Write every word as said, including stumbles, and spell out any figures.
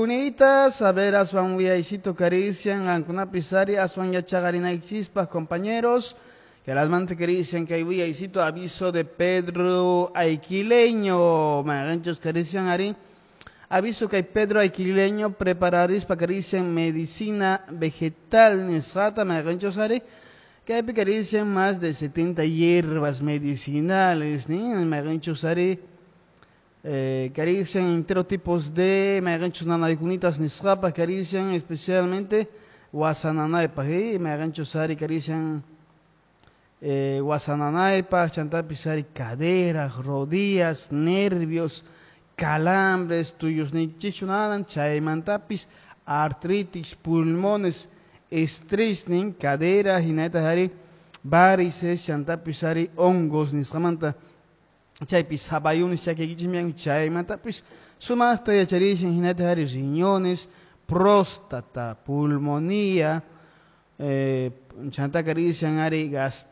Kunitas, a ver, aswan wiyaysito karisian, qankunapis ari aswan yachaqarinaykichispaq, compañeros, que las mante karisian kay wiyaysito aviso de Pedro Aiquileño, mayqinchus karisian ari, aviso kay Pedro Aiquileño prepararispa karisian medicina vegetal nisqata mayqinchus ari, kaypi karisian más de setenta hierbas medicinales, nin mayqinchus ari, Eh, karisian entero tipos de mayqinchus nanaykunitas nisqapaq karisian especialmente wasananaypaq y mayqinchus ari karisian eh, wasananaypaq chantapis ari caderas, rodillas, nervios, calambres, tuyusniykichikchu nanan chaymantapis artritis, pulmones, estrés nin cadera hinallataq ari varices chantapis ari hongos nisqamanta chaypis sabayunis chakiykichikmi chaymantapis sumaqta yacharishan hinallataq ari riñones, próstata, pulmonía, eh, chanta karisian ari